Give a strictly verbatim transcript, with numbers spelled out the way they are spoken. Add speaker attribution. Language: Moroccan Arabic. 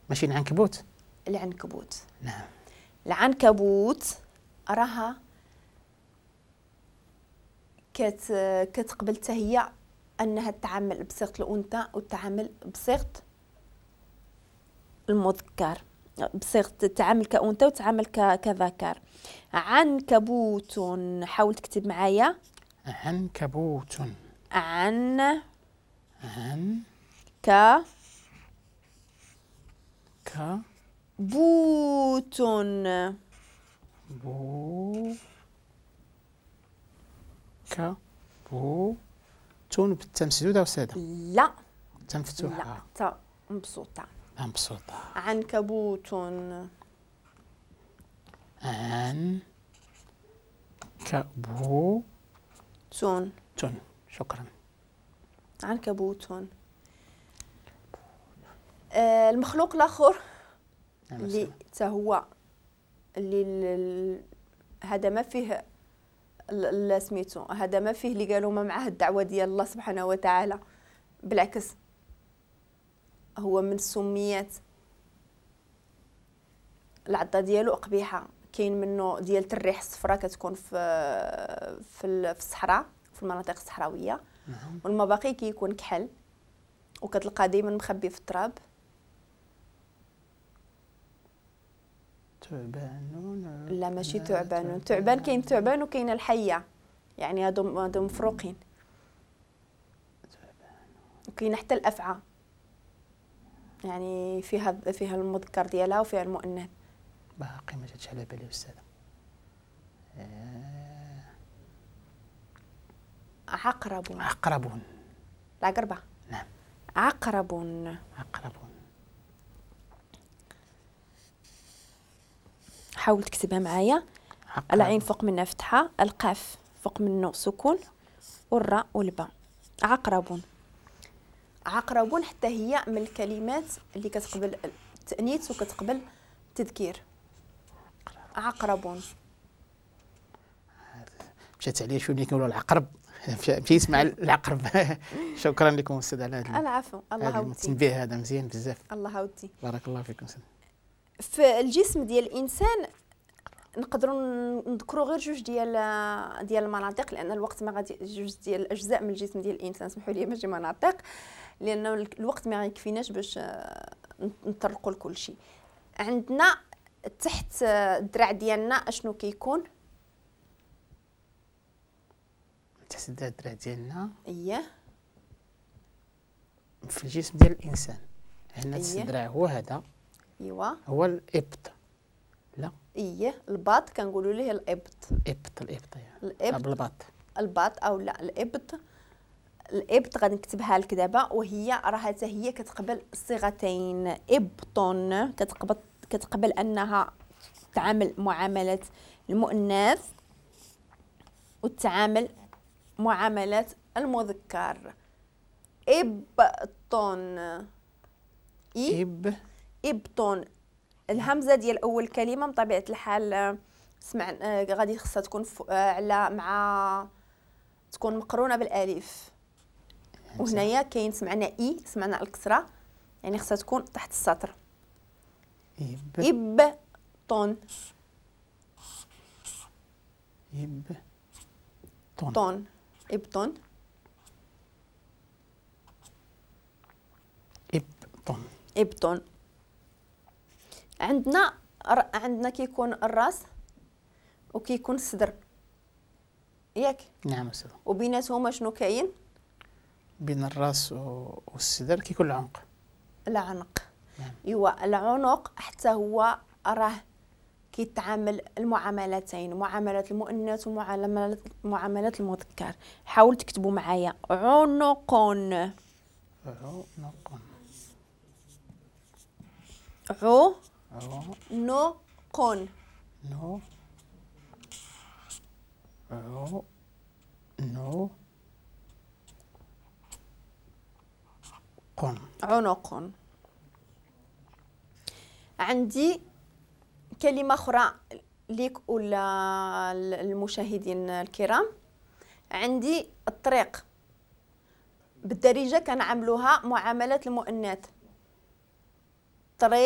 Speaker 1: ماشي العنكبوت؟
Speaker 2: العنكبوت.
Speaker 1: نعم.
Speaker 2: العنكبوت راها كت كتقبل حتى هي انها تعامل بصيغة الانثى وتعامل بصيغة المذكر، بصيغة تعامل كانثى وتعامل كذكر. عنكبوت، حاول تكتب معايا.
Speaker 1: عنكبوت.
Speaker 2: عن
Speaker 1: عن
Speaker 2: ك
Speaker 1: ك
Speaker 2: بوت
Speaker 1: بو ك بو تون بالتاء مسدودة أستاذة؟
Speaker 2: لا،
Speaker 1: التاء مفتوحة.
Speaker 2: لا، تاء مبسوطة.
Speaker 1: مبسوطة.
Speaker 2: عنكبوت.
Speaker 1: عن كبو
Speaker 2: تون
Speaker 1: تون. شكرا.
Speaker 2: عنكبوت. آه المخلوق الآخر اللي حتى هو اللي هذا ما فيه سميتو، هذا ما فيه اللي قالوا ما معاه الدعوة ديال الله سبحانه وتعالى، بالعكس هو من السميات. العضه ديالو قبيحة، كاين منه ديال الريح الصفراء كتكون في في الصحراء، في المناطق الصحراوية.
Speaker 1: نعم.
Speaker 2: والمباقي كيكون كحل وكتلقى دائما مخبي في التراب.
Speaker 1: ثعبان؟
Speaker 2: لا ماشي ثعبان، ثعبان كاين ثعبان وكاين الحية، يعني هادو هادو مفروقين. وكاين حتى الافعى، يعني فيها فيها المذكر ديالها وفيها المؤنث.
Speaker 1: باقي ما جاتش على بالي استاذه. آه.
Speaker 2: عقرب.
Speaker 1: عقرب.
Speaker 2: العقربه.
Speaker 1: نعم.
Speaker 2: عقرب.
Speaker 1: عقرب.
Speaker 2: حاول تكتبها معايا. العين فوق منها فتحه، القاف فوق منه سكون، والراء والباء. عقرب. عقرب حتى هي من الكلمات اللي كتقبل التأنيث وكتقبل التذكير. عقرب.
Speaker 1: مشات عليا شوية ملي كنقولوا العقرب، مشيت مع العقرب. شكرا لكم استاذ على هذا
Speaker 2: العفو. الله يودي
Speaker 1: التنبيه هذا مزيان بزاف.
Speaker 2: الله يودي.
Speaker 1: بارك الله فيكم استاذ.
Speaker 2: في الجسم ديال الانسان نقدروا نذكروا غير جوج ديال ديال المناطق، لان الوقت ما غادي، جوج ديال الاجزاء من الجسم ديال الانسان، سمحوا لي ماشي مناطق، لانه الوقت ما غيكفيناش باش نطرقوا لكل شيء. عندنا تحت الدراع ديالنا اشنو كيكون؟
Speaker 1: تحت الدراع ديالنا
Speaker 2: اييه
Speaker 1: في الجسم ديال الانسان هنا الدراع هو هذا.
Speaker 2: ايوا
Speaker 1: هو الابط. لا
Speaker 2: ايه الباط كنقولوا ليه الابط.
Speaker 1: الابط الابط
Speaker 2: الابط
Speaker 1: الباط
Speaker 2: الباط او لا الابط. الابط غادي نكتبها لك دابا، وهي راها حتى هي كتقبل الصيغتين. ابطون كتقبل كتقبل انها تعامل معاملة المؤنث وتعامل معاملة المذكر. ابطون. اي
Speaker 1: اب
Speaker 2: ابطون. الهمزة ديال اول كلمة بطبيعة الحال سمع غادي خصها تكون على مع تكون مقرونة بالالف، وهنايا كاين سمعنا اي سمعنا الكسرة، يعني خصها تكون تحت السطر.
Speaker 1: اب
Speaker 2: ابطون.
Speaker 1: اب طون.
Speaker 2: طون. ابطون.
Speaker 1: ابطون.
Speaker 2: ابطون. عندنا عندنا كيكون الراس وكيكون الصدر، ياك؟
Speaker 1: نعم أستاذ.
Speaker 2: وبيناتهما شنو كاين؟
Speaker 1: بين الراس والصدر كيكون العنق.
Speaker 2: العنق.
Speaker 1: نعم.
Speaker 2: ايوا العنق حتى هو راه كيتعامل المعاملتين، معاملة المؤنث ومعاملة معاملة المذكر. حاول تكتبوا معايا عنق.
Speaker 1: عنق.
Speaker 2: عو نو قون.
Speaker 1: نو عو نو قون.
Speaker 2: عنق. عندي كلمة أخرى ليك ولا المشاهدين الكرام. عندي الطريق بالدارجة كنعملوها معاملة المؤنث. طريق.